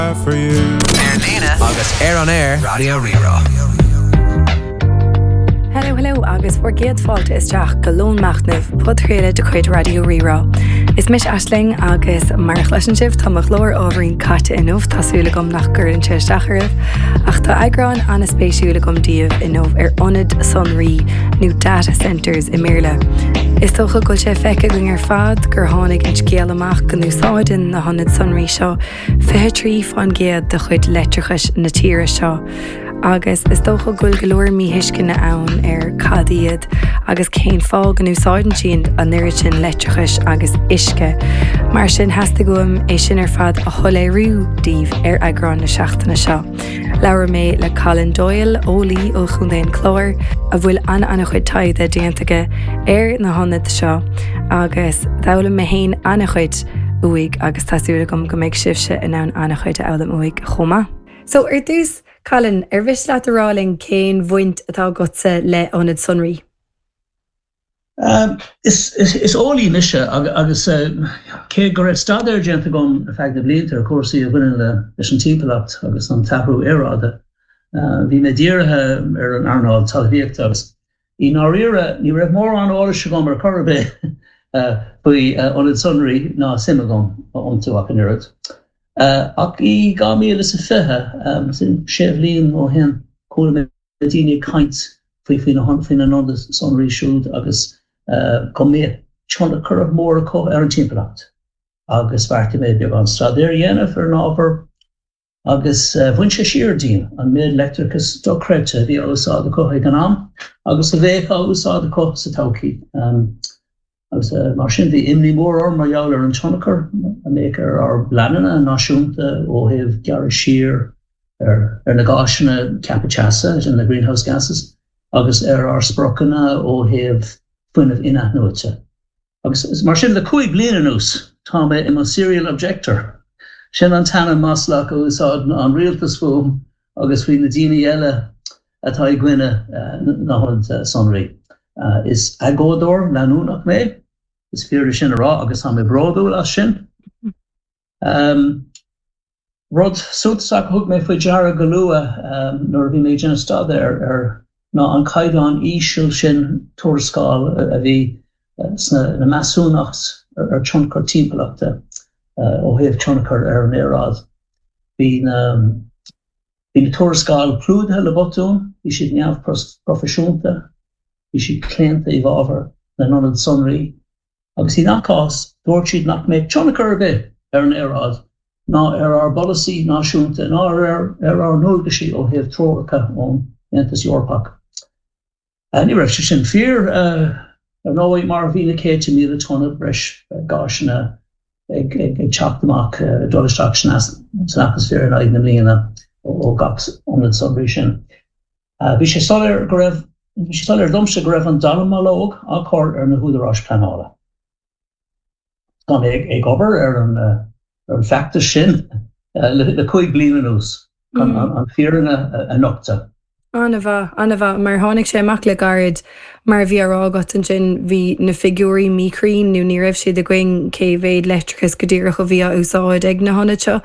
For you. Ar líne agus ar an aer, Raidió Rí-Rá. Hello hello agus bhur gcéad fáilte isteach go Lón Machnaimh, podchraoladh de chuid Raidió Rí-Rá. Is mise Aisling agus mar a chloiseann sibh tá mo ghlór ábhairín caite inniu, tá súil agam nach gcuireann sé isteach oraibh, ach tá eagrán an-spéisiúil agam daoibh inniu ar ionaid sonraí nó data centres i mBéarla. Is dócha go bhfuil sé feicthe againn ar fad gur tháinig an scéal amach go n-úsáideann na hionaid sonraí seo 23% de chuid leictreachais na tíre seo agus is dócha go bhfuil go leor míthuisceana ann ar cad iad agus cén fáth go n-úsáideann siad an oiread sin leictreachais agus uisce. Mar sin theastaigh uaim é sin ar fad a shoiléiriú daoibh ar eagrán na seachtaine seo. Labhair mé le Colin Doyle, eolaí ó Chontae an Chláir, a bhfuil an-an-chuid taighde déanta aige ar na hionaid seo agus d'fhoghlaim mé féin an-chuid uaidh agus tá súil agam go mbeidh sibhse in ann an-chuid a fhoghlaim uaidh chomh maith. So, ar dtús, Colin, ar mhiste leat a rá linn cén bhaint atá agatsa le hionaid sonraí? Is eolaí mise agus cé go raibh staidéar déanta agam ar feadh na blianta ar chúrsaí a bhaineann leis an timpeallacht agus an t-athrú aeráide, bhí mé dírithe ar an earnáil talmhaíochta agus i ndáiríre ní raibh mórán eolais agam ar chor ar bith faoi ionaid sonraí ná suim agam iontu ach an oiread. Ach i 2020, sin sé bhliain ó shin, chuala mé daoine ag caint faoi faoi na hionaid sonraí siúd agus go mbeadh tionchar mór acu ar an timpeallacht agus bheartaigh mé beagán staidéir a dhéanamh ar an ábhar agus bhain sé siar díom an méid leictreachais dochreidte a bhí á úsáid acu ag an am agus a bheadh á úsáid acu sa todhchaí. Agus mar sin bhí imní mhór orm mar gheall ar an tionchar a mbeadh ar ár bpleananna náisiúnta ó thaobh gearradh siar ar na gásanna ceaptha teasa, sin na greenhouse gases, agus ar ár spriocanna ó thaobh fuinneamh in-athnuaite. Agus mar sin le 5 bliana anuas tá mé i mo serial objector. Sin an t-ainm maslach a úsáideann an rialtas fúm agus faoi na daoine eile atá i gcoinne na hionad sonraí. Is agóideoir leanúnach mé, is fíor é sin a rá agus tá mé bródúil as sin. Rud suntasach a thug mé faoi deara go luath nuair a bhí mé ag déanamh staidéir air ná an caighdeán íseal sin tuarascáil a bhí sna measúnacht ar tionchar timpeallachta ó thaobh tionchar ar an aeráid. Bhí na bhí na tuarascáil clúdaithe le botúin, bhí siad neamhphroifisiúnta, bhí siad claonta i bhfabhar na n-ionad sonraí Agus i ngach cás, dúirt siad nach mbeadh tionchar ar bith ar an aeráid ná ar ár bpolasaí náisiúnta ná ar ár ndualgaisí ó thaobh treoracha ón Aontas Eorpach. Ní raibh sé sin fíor, ar ndóigh, mar bhí na céadta míle tonna breis gásanna ag teacht amach, ag dul isteach san atmaisféar in aghaidh na bliana ó gach ionad sonraí sin. Bhí sé soiléir go raibh, bhí sé soiléir domsa go raibh an dallamullóg á chur ar na húdaráis pleanála. Tá mé ag obair ar an ar an bhfeachtas sin le 5 bliana anuas chun an fírinne a nochtadh. An-mhaith, an-mhaith. Mar tháinig sé amach le gairid, mar a bhí á rá agat ansin, bhí na figiúirí míchruinn nó ní raibh siad againn cé mhéad leictreachas go díreach a bhí á úsáid ag na hionaid seo.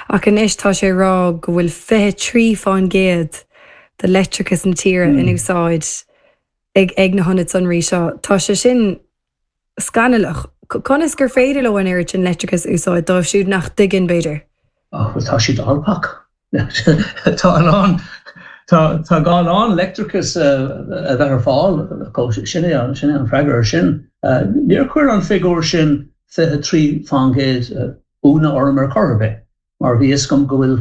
Ach anois tá sé ag rá go bhfuil 23 fán gcéad de leictreachas na tíre in úsáid ag ag na hionaid sonraí seo. Tá sé sin scannalach. Conas gur féidir leo an oiread sin leictreachais a úsáid, dóibh siúd nach dtuigeann, b'fhéidir? Ach bhuel tá siad alpach. Tá a lán, tá tá gá a lán leictreachas a bheith ar fáil acu. Sin é an, sin é an freagra ar sin. Níor chuir an figiúr sin 23 fán gcéad ionadh orm ar chor ar bith, mar bhí fhios agam go bhfuil,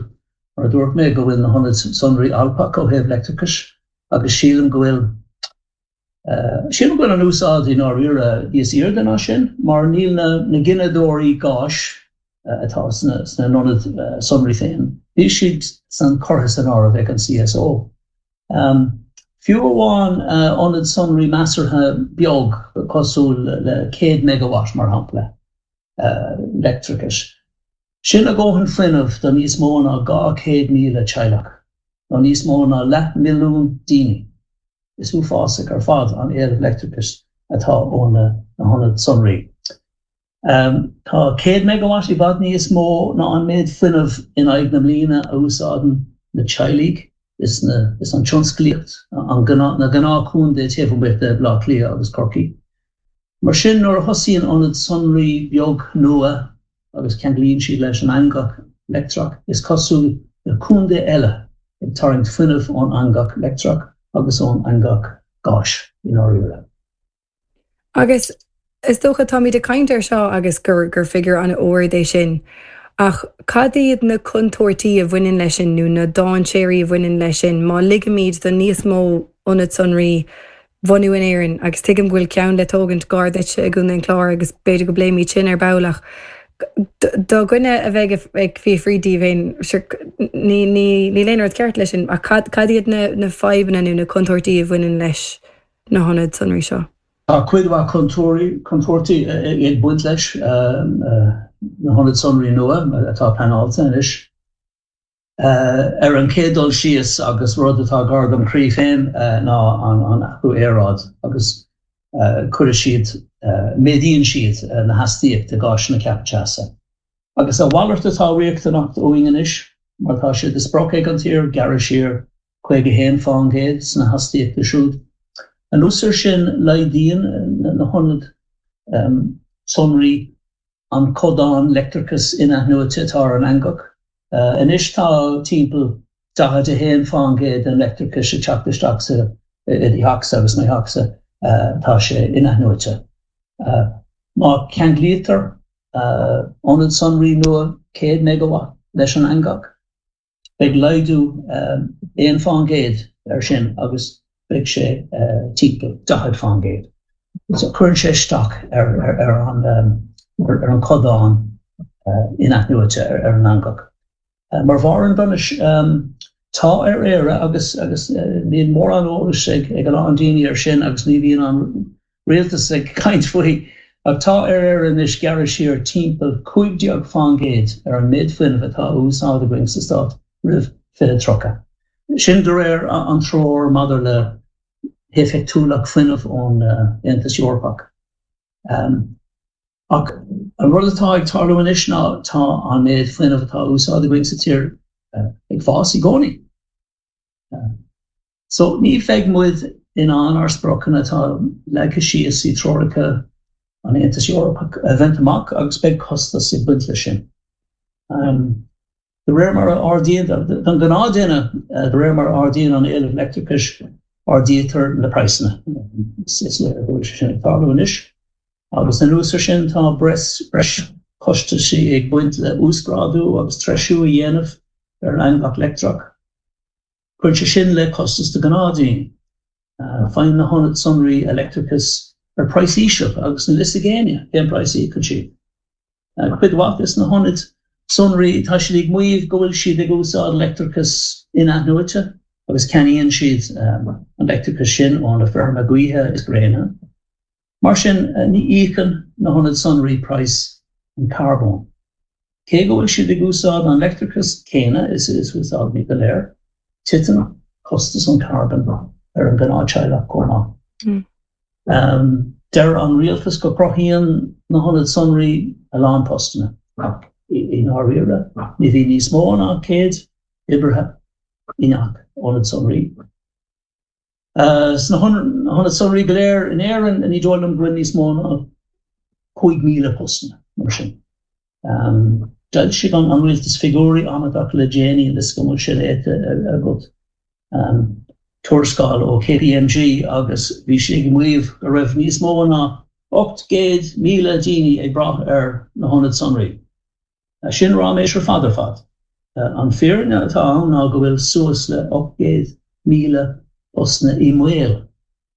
mar a dúirt mé, go bhfuil na hionaid sonraí alpach ó thaobh leictreachais agus sílim go bhfuil, sílim go bhfuil an úsáid i ndáiríre níos airde ná sin, mar níl na na gineadóirí gáis atá sna sna hionaid sonraí féin, níl siad san curtha san áireamh ag an CSO. Fiú amháin ionad sonraí measartha beag cosúil le 100 megawatt mar shampla, leictreachais. Sin a dhóthain fuinnimh do níos mó ná 200,000 teaghlach, nó níos mó ná leathmhilliún daoine. Is uafásach ar fad an éileamh leictreachais atá ó na hionaid sonraí. Tá 100 megawatt i bhfad níos mó ná an méid fuinnimh in aghaidh na mbliana a úsáideann na teaghlaigh is na is an tionsclaíocht, an na gnáthchontae taobh amuigh de Bhaile Átha Cliath agus Corcaigh. Mar sin, nuair a thosaíonn ionad sonraí beag nua agus ceanglaíonn siad leis an eangach leictreach, is cosúil le contae eile ag tarraingt fuinnimh ón eangach leictreach agus ón eangach gáis, i ndáiríre. Agus is dócha, táimid ag caint air seo agus gur gur figiúr an-ard é sin, ach cad iad na contúirtí a bhaineann leis sin nó na dainséirí a bhaineann leis sin má ligimid do níos mó ionad sonraí bhunú in Éirinn? Agus tuigim go bhfuil ceann le tógaint gar duitse i gContae an Chláir agus b'fhéidir go bpléimid sin ar ball ach do dhuine a bheidh ag fiafraí díobh féin, sure, ní ní níl aon rud ceart leis sin ach cad cad iad na na fadhbanna nó na contúirtí a bhaineann leis na hionaid sonraí seo. Tá cuid mhaith contúirtí ag baint leis na hionaid sonraí nua atá pleanáilte anois. Ar an chéad dul síos, agus rud atá gar dom chroí féin, ná an athrú aeráid agus cuirfidh siad, méadaíonn siad na hastaíochta gáiseanna ceaptha teasa. Agus a mhalairt atá riachtanach uainn anois, mar tá sé de sprioc ag an tír gearradh siar 51% sna hastaíochta siúd. Anuas air sin, laghdaíonn na hionaid sonraí an codán leictreachais in-athnuaite atá ar an eangach. Anois tá timpeall 41% den leictreachas ag teacht isteach sa i do theachsa agus mo theachsa, tá sé in-athnuaite. Má cheanglaítear ionad sonraí nua 100 megawatt leis an eangach, Beidh laghdú 1% air sin agus beidh sé timpeall 40%. So cuireann sé isteach ar an ar an codán in-athnuaite ar an eangach. Mar bharr an donais, tá ar Éire agus agus níl mórán eolais ag a lán daoine air sin agus ní bhíonn an rialtas ag caint faoi, ach tá ar Éire anois gearradh siar timpeall 15% ar an méid fuinnimh atá á úsáid againn sa stát roimh 2030. Sin de réir an treoir maidir le héifeachtúlacht fuinnimh ón Aontas Eorpach. Ach an rud atá ag tarlú anois ná tá an méid fuinnimh atá á úsáid againn sa tír ag fás i gcónaí. So, ní bheidh muid in ann ár spriocanna atá leagtha síos i dtreoracha an Aontais Eorpaigh a bhaint amach agus beidh costas ag baint leis sin. De réir mar a ardaíonn, don ghnáthduine, de réir mar a ardaíonn an éileamh leictreachais, ardaítear na praghsanna. Is léir go bhfuil sé sin ag tarlú anois. Agus anuas air sin, tá breis costaisí ag baint le uasghrádú agus treisiú a dhéanamh ar an eangach leictreach. Cuireann sé sin le costas do ghnáthdaoine. Faigheann na hionaid sonraí a leictreachas ar praghas íseal agus níl fhios ag éinne cén praghas a íocann siad. Cuid mhaith des na hionaid sonraí tá siad ag maíomh go bhfuil siad ag úsáid leictreachas in-athnuaite agus ceannaíonn siad an leictreachas sin ó na feirmeacha gaoithe is gréine. Mar sin, ní íocann na hionaid sonraí praghas an charbóin. Cé go bhfuil siad ag úsáid an leictreachas céanna is a úsáidimid go léir, titeann costas an charbóin ar an ghnáth-teaghlach chomh maith. Deir an rialtas go gcruthaíonn na hionaid sonraí a lán postanna, ach i ndáiríre, ní bhíonn níos mó ná 100 oibrithe i ngach ionad sonraí. Sna hionaid sonraí go léir in Éirinn, ní dóigh liom go bhfuil níos mó ná 5,000 postanna mar sin. D'fhoilsigh an rialtas figiúirí amaideach le déanaí, níl a fhios agam an bhfuil sé léite agat, tuarascáil ó KPMG agus bhí sé ag maíomh go raibh níos mó ná 800,000 daoine ag brath ar na hionaid sonraí. Sin ráiméis ar fad ar fad. An fírinne atá ann ná go bhfuil suas le 800,000 postanna i mbaol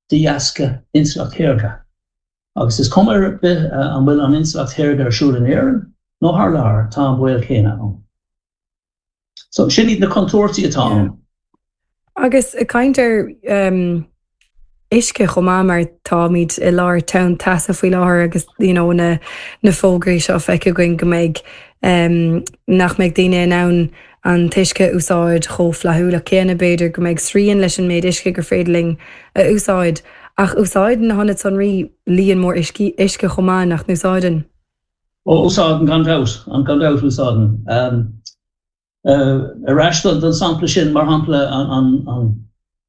de dheasca intleacht shaorga. Agus is cuma ar bith an bhfuil an intleacht shaorga ar siúl in Éirinn nó thar lear, tá an baol céanna ann. So, sin iad na contúirtí atá ann. Agus ag caint ar uisce chomh maith mar táimid i lár tonn teasa faoi láthair agus you know na na fógraí seo feicthe againn go mbeidh nach mbeidh daoine in ann an t-uisce a úsáid chomh flaithiúlach céanna, b'fhéidir go mbeidh srian leis an méid uisce gur féidir linn a úsáid. Ach úsáideann na hionaid sonraí líon mór uisce chomh maith, nach n-úsáideann? Ó, úsáideann, gan dabht, gan dabht úsáideann. Ar ais don sampla sin, mar shampla an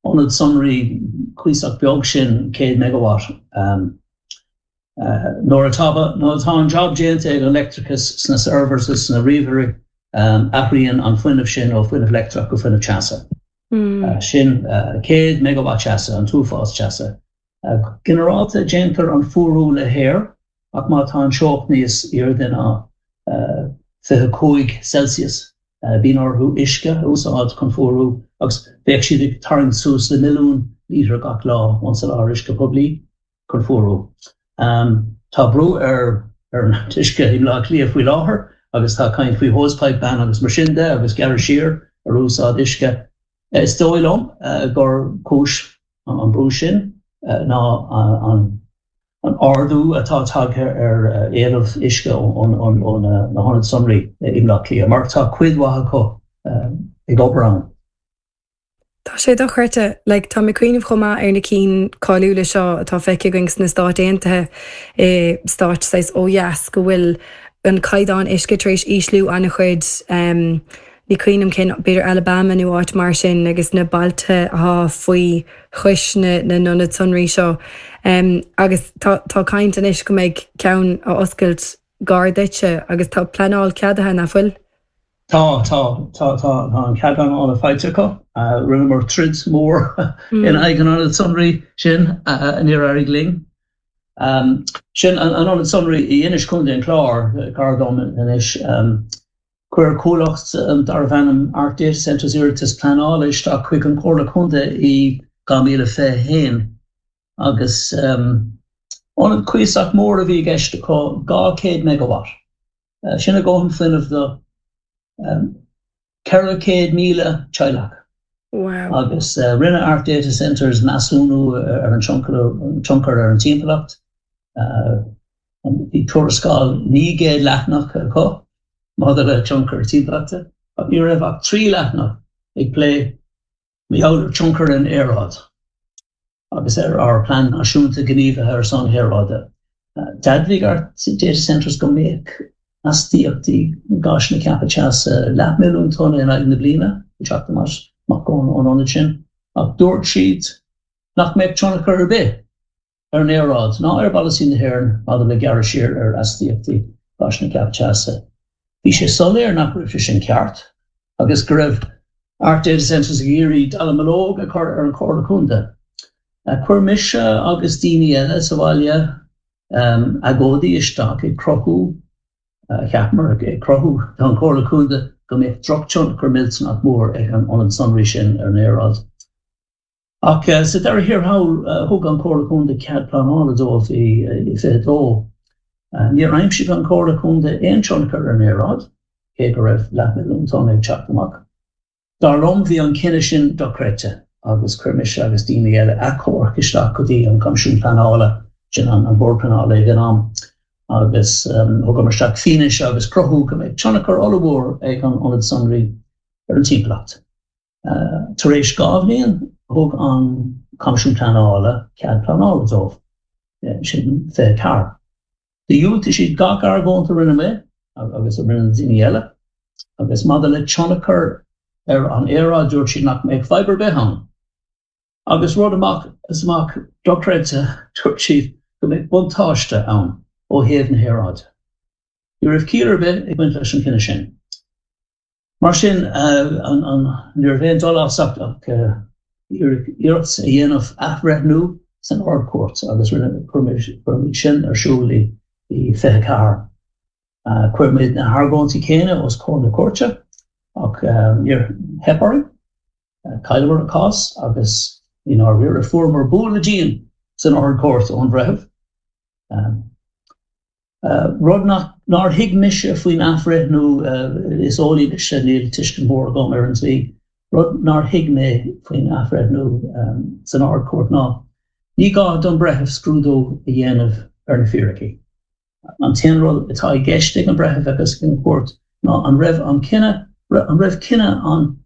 ionad sonraí cuíosach beag sin, 100 megawatt, nuair atá nuair atá an job déanta ag an leictreachas sna servers is sna ríomhairí, athraíonn an fuinneamh sin ó fuinneamh leictreach go fuinneamh teasa. Sin 100 megawatt teasa, an t-uafás teasa. Go ginearálta déantar an fuarú le haer ach má tá an teocht níos airde ná 25 Celsius bíonn orthu uisce a úsáid chun fuarú agus bheadh siad ag tarraingt suas le milliún lítear gach lá ón soláthar uisce poiblí chun fuarú. Tá brú ar ar an uisce i mBleá Cliath faoi láthair agus tá caint faoi hosepipe ban agus mar sin de agus gearradh siar ar úsáid uisce. Is dóigh liom gur cúis an brú sin ná an ardú atá tagtha ar éileamh uisce ó na hionaid sonraí i mBleá Cliath, mar tá cuid mhaith acu ag obair ann. Tá sé dochreidte. Like, tá mé ag cuimhneamh chomh maith ar na cinn cáiliúla seo atá feicthe againn sna Stáit Aontaithe, i stáit saghas ó dheas, go bhfuil an caighdeán uisce tar éis ísliú an-chuid. Ní cuimhin liom cén, b'fhéidir Alabama nó áit mar sin agus na bailte atá faoi chois na n-ionad sonraí seo. Agus tá tá caint anois go mbeidh ceann á oscailt gar duitse agus tá pleanáil ceadaithe, nach bhfuil? Tá, tá, tá, tá, tá an cead pleanála faighte acu. Rinneamar troid mhór in aghaidh an ionaid sonraí sin, níor éirigh linn. Sin an ionad sonraí i Inis, Contae an Chláir, gar dom anois. Chuir comhlacht darbh ainm Arc Data Centres iarratas pleanála isteach chuig an Chomhairle Contae i 2021 agus ionad cuíosach mór a bhí i gceist acu, 200 megawatt. Sin a dhóthain fuinnimh do 400,000 teaghlach. Wow. Agus rinne Arc Data Centres measúnú ar an tionchar ar an timpeallacht. Bhí tuarascáil 900 leathanach acu maidir le tionchar timpeallachta, ach ní raibh ach 3 leathanach ag plé mar gheall ar tionchar ar an aeráid agus ar ár Plean Náisiúnta Gníomhaithe ar son Aeráide. D'admhaigh Arc Data Centres go mbeadh astaíochtaí gáiseanna ceaptha teasa leathmhilliún tonna in aghaidh na bliana ag teacht amach ón ionad sin, ach dúirt siad nach mbeadh tionchar ar bith ar an aeráid ná ar pholasaí na hÉireann maidir le gearradh siar ar astaíochtaí gáiseanna ceaptha teasa. Bhí sé soiléir nach raibh sé sin ceart agus go raibh Arc Data Centres ag iarraidh dallamullóg a chur ar an Chomhairle Contae. Chuir mise agus daoine eile sa bhaile agóidí isteach ag cruthú, cheapamar, ag cruthú don Chomhairle Contae go mbeadh drochthionchar millteanach mór ag an ionad sonraí sin ar an aeráid. Ach sa deireadh thiar thall, thug an Chomhairle Contae cead pleanála dóibh i 22. Níor aimsigh an Chomhairle Contae aon tionchar ar an aeráid, cé go raibh leathmhilliún tonna ag teacht amach. Dar liom, bhí an cinneadh sin dochreidte agus chuir mise agus daoine eile achomharc isteach go dtí an Coimisiún Pleanála, sin an Bord Pleanála ag an am, agus thugamar isteach fianaise agus cruthú go mbeadh tionchar ollmhór ag an ionad sonraí ar an timpeallacht. Tar éis 2 bhliain, thug an Coimisiún Pleanála cead pleanála dóibh, sin 24. Dhiúltaigh siad gach argóint a rinne mé agus a rinne na daoine eile, agus maidir le tionchar ar an aeráid, dúirt siad nach mbeadh fadhb ar bith ann. Agus rud amach is amach dochreidte, dúirt siad go mbeadh buntáiste ann ó thaobh na haeráide. Ní raibh ciall ar bith ag baint leis an chinneadh sin. Mar sin, ní raibh aon dul as ach iarracht a dhéanamh athbhreithniú san Ard-Chúirt agus chuir muid sin ar siúl i 24. Chuir muid na hargóintí céanna os comhair na cúirte ach níor theip orainn. Chailleamar an cás agus i ndáiríre fuaireamar bualadh dian san Ard-Chúirt ón bhreitheamh. Rud nár thuig mise faoin athbhreithniú, is eolaí mise, níl tuiscint mhór agam ar an dlí, rud nár thuig mé faoin athbhreithniú san Ard-Chúirt ná ní gá don bhreitheamh scrúdú a dhéanamh ar na fíricí. An t-aon rud atá i gceist ag an bhreitheamh agus ag an gcúirt ná an raibh an cinneadh, an raibh cinneadh an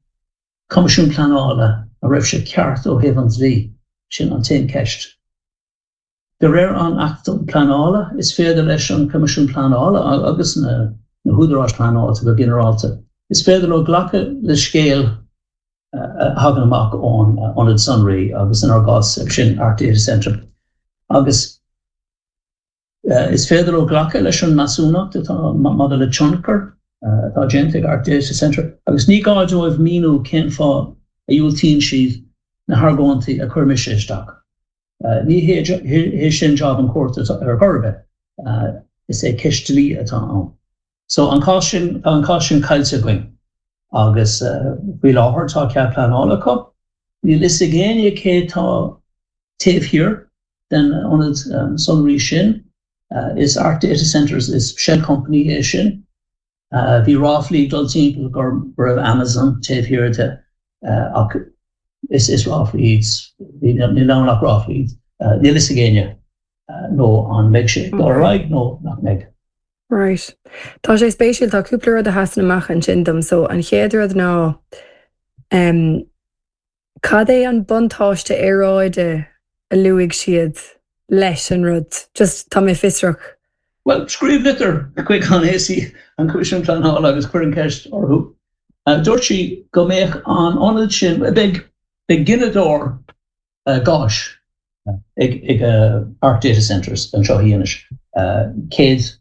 Choimisiúin Pleanála, an raibh sé ceart ó thaobh an dlí? Sin an t-aon cheist. De réir an Acht um Pleanála, is féidir leis an Coimisiún Pleanála agus na húdaráis pleanáilte go ginearálta, is féidir leo glacadh le scéal a thagann amach ón ionad sonraí agus inár gcás sin Arc Data Centre agus is féidir leo glacadh leis an measúnacht atá maidir le tionchar atá déanta ag Arc Data Centre agus ní gá dóibh míniú cén fáth a dhiúltaíonn siad na hargóintí a chuir mise isteach. Ní hé sin job an chúirt ar chor ar bith, is é ceist dlí atá ann. So an cás sin, tá an cás sin caillte againn agus faoi láthair tá cead pleanála acu. Níl fhios ag éinne cé tá taobh thiar den ionad sonraí sin. Is Arc Data Centres, is shell company é sin. Bhí ráflaí ag dul timpeall go raibh Amazon taobh thiar de ach is ráflaí iad, níl ann ach ráflaí. Níl fhios ag éinne nó an mbeidh sé ag dul ar aghaidh nó nach mbeidh. Right. Tá sé spéisiúil, tá cúpla rud a sheasann amach ansin dom. So an chéad rud ná em cad é an buntáiste aeráide a luaigh siad leis an rud? Just tá mé fiosrach. Bhuel, scríobh litir chuig an AC, an Coimisiún Pleanála agus cuir an cheist orthu. Dúirt sí go mbeadh an ionad sin, beidh gineadóir gáis ag Arc Data Centres anseo i Inis, 120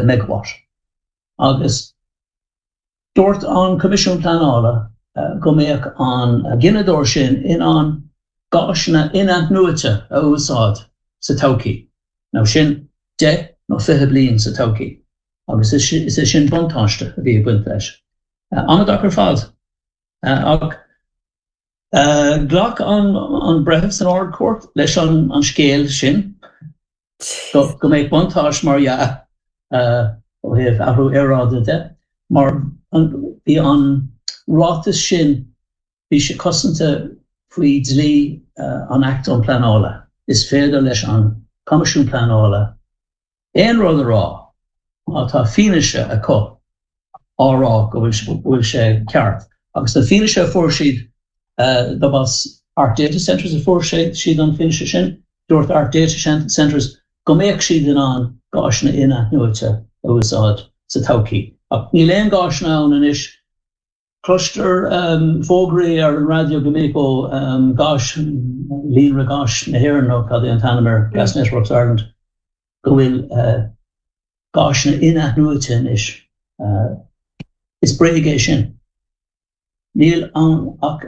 megawatt, agus dúirt an Coimisiún Pleanála go mbeadh an gineadóir sin in ann gáiseanna in-athnuaite a úsáid sa todhchaí. Now sin 10 nó 20 bliain sa todhchaí, agus is é sin buntáiste a bhí ag baint leis. Amaideach ar fad. Ach Ghlac an breitheamh san Ard-Chúirt leis an scéal sin, go mbeadh buntáiste mar dhea ó thaobh athrú aeráide de, mar bhí an ráiteas sin, bhí sé cosanta faoi dhlí an Act um Pleanála. Is féidir leis an Coimisiún Pleanála aon rud a rá má tá fianaise acu á rá go bhfuil sé ceart. Agus an fianaise a fuair siad, dob as Arc Data Centres a fuair siad an fianaise sin, dúirt Arc Data Centres go mbeadh siad in ann gáiseanna in-athnuaite a úsáid sa todhchaí. Ach níl aon gáiseanna ann anois. Cloistear fógraí ar an raidió go minic ó Gáis, Líonra Gáis na hÉireann nó cad é an t-ainm air, Gas Networks Ireland, go bhfuil gáiseanna in-athnuaite anois. Is bréag é sin. Níl ann ach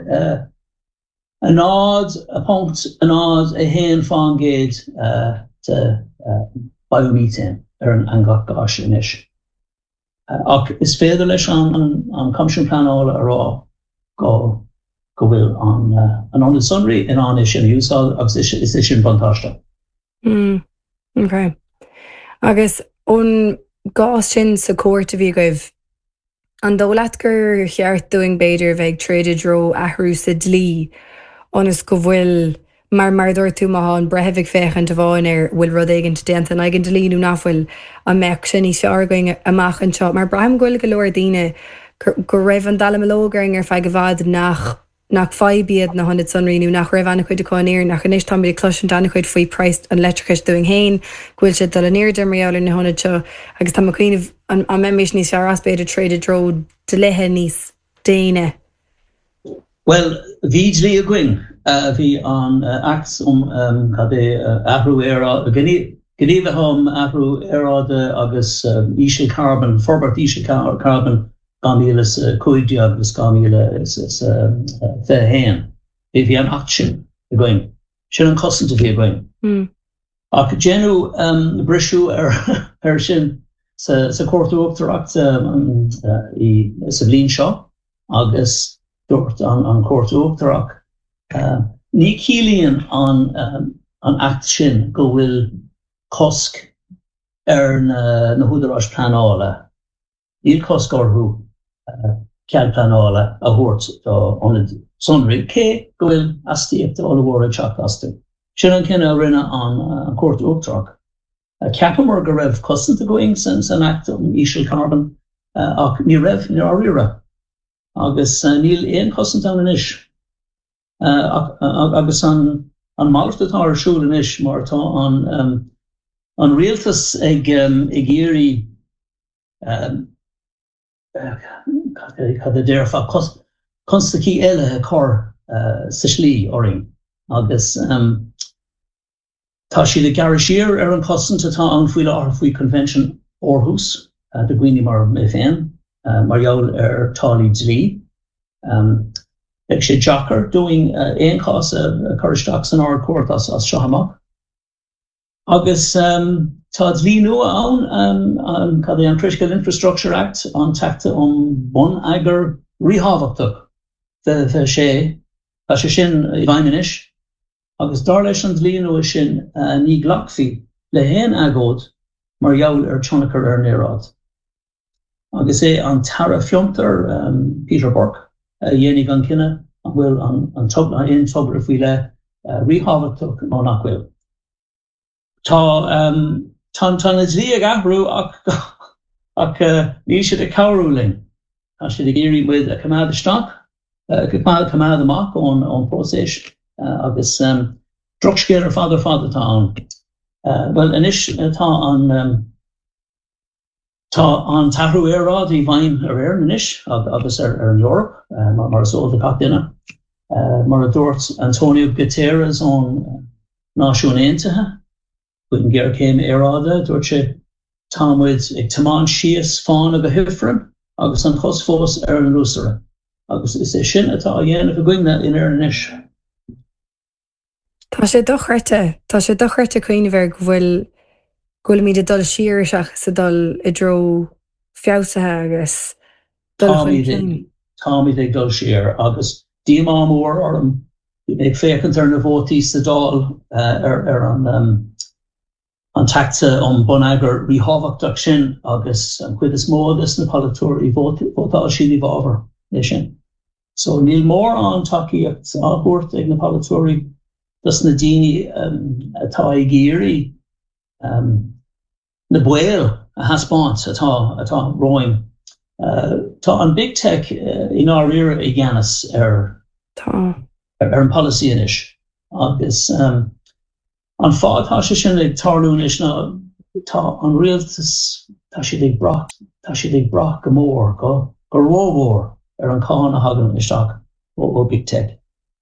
0.01 fán gcéad de biomethane ar an eangach gáis anois. Ach is féidir leis an Coimisiún Pleanála a rá go go bhfuil an ionad sonraí in ann é sin a úsáid agus is é sin buntáiste. Mm, ok. Agus ón gcás sin sa chúirt a bhí agaibh, An dóigh leat gur cheart dúinn b'fhéidir a bheith ag troid i dtreo athrú sa dlí ionas go bhfuil, mar mar a dúirt tú má tá an breitheamh ag féachaint amháin ar bhfuil rud éigint déanta in aghaidh an dlí nó nach bhfuil, an mbeadh sé níos fearr againn amach anseo? Mar braithim go bhfuil go leor daoine go raibh an dallamullóg orainn ar feadh i bhfad nach nach fadhb iad na hionaid sonraí nó nach raibh an-chuid acu in Éirinn ach anois táimid ag cloisint an-chuid faoi praghas an leictreachais dúinn féin, go bhfuil sé ag dul in airde mar gheall ar na hionaid seo agus tá mé ag cuimhneamh an mbeimis níos fearr as b'fhéidir troid i dtreo dlíthe níos déine. Bhuel, bhí dlí againn. Bhí an Act um cad é, Athrú Aeráide, Gníomhaithe um Athrú Aeráide agus Ísealcharbón, Forbairt Ísealcharbóin, 2015 agus 2021. Bhí an Acht sin againn. Sin an chosaint a bhí againn. Ach déanadh briseadh air sin sa Chúirt Uachtarach sa bhliain seo agus dúirt an Chúirt Uachtarach, ní chiallaíonn an Acht sin go bhfuil cosc ar na húdaráis pleanála Níl cosc orthu cead pleanála a thabhairt d'ionaid sonraí, cé go bhfuil astaíochtaí ollmhóra ag teacht astu. Sin an cinneadh a rinne an Chúirt Uachtarach. Cheapamar go raibh cosaint againn san Acht um Ísealcharbón ach ní raibh, i ndáiríre, agus níl aon chosaint ann anois. Agus an. An malairt atá ar siúl anois mar tá an an rialtas ag ag iarraidh cad a déarfá, constaicí eile a chur sa slí orainn agus tá siad ag gearradh siar ar an chosaint atá ann faoi láthair faoi Convention Aarhus do dhaoine mar mé féin mar gheall ar táillí dlí. Beidh sé deacair dúinn aon chás a chur isteach san Ard-Chúirt as seo amach. Agus tá dlí nua ann, cad é an Critical Infrastructure Act, an tAcht um Bonneagar Ríthábhachtach 2026, tá sé sin i bhfeidhm anois, agus dar leis an dlí nua sin ní ghlacfaí le haon agóid mar gheall ar tionchar ar an aeráid. Agus é an tAire Fiontar, Peter Burke, a dhéanfaidh an cinneadh an bhfuil an aon togra faoi leith ríthábhachtach nó nach bhfuil. Tá tá na dlí ag athrú ach ach níl siad ag cabhrú linn. Tá siad ag iarraidh muid a choimeád isteach, coimeád amach ón ón próiseas agus drochscéal ar fad ar fad atá ann. Bhuel anois tá an Tá an t-athrú aeráide i bhfeidhm ar Éirinn anois agus ar an Eoraip, mar is eol do gach duine. Mar a dúirt Antonio Guterres ón Náisiúin Aontaithe faoin ghéarchéim aeráide, dúirt sé, Tá muid ag tiomáint síos fána go hifreann agus an chos fós ar an luasaire. Agus is é sin atá á dhéanamh againne in Éirinn anois. Tá sé dochreidte. Tá sé dochreidte cuimhneamh air go bhfuil, go bhfuilimid ag dul siar seachas ag dul i dtreo feabhsaithe agus dul chun cinn. Táimid ag dul siar agus díomá mór orm. Bhí mé ag féachaint ar na vótaí sa Dáil ar an an tAcht um Bonneagar Ríthábhachtach sin agus an chuid is mó des na polaiteoirí, vótáil siad i bhfabhar é sin. So níl mórán tacaíocht á thabhairt ag na polaiteoirí dos na daoine atá ag iarraidh na baoil a thaispeáint atá atá romhainn. Tá an Big Tech i ndáiríre i gceannas ar ar an polasaí anois agus An fáth atá sé sin ag tarlú anois ná tá an rialtas, tá siad ag brath, tá siad ag brath go mór, go rómhór ar an cáin a thagann isteach ó Big Tech.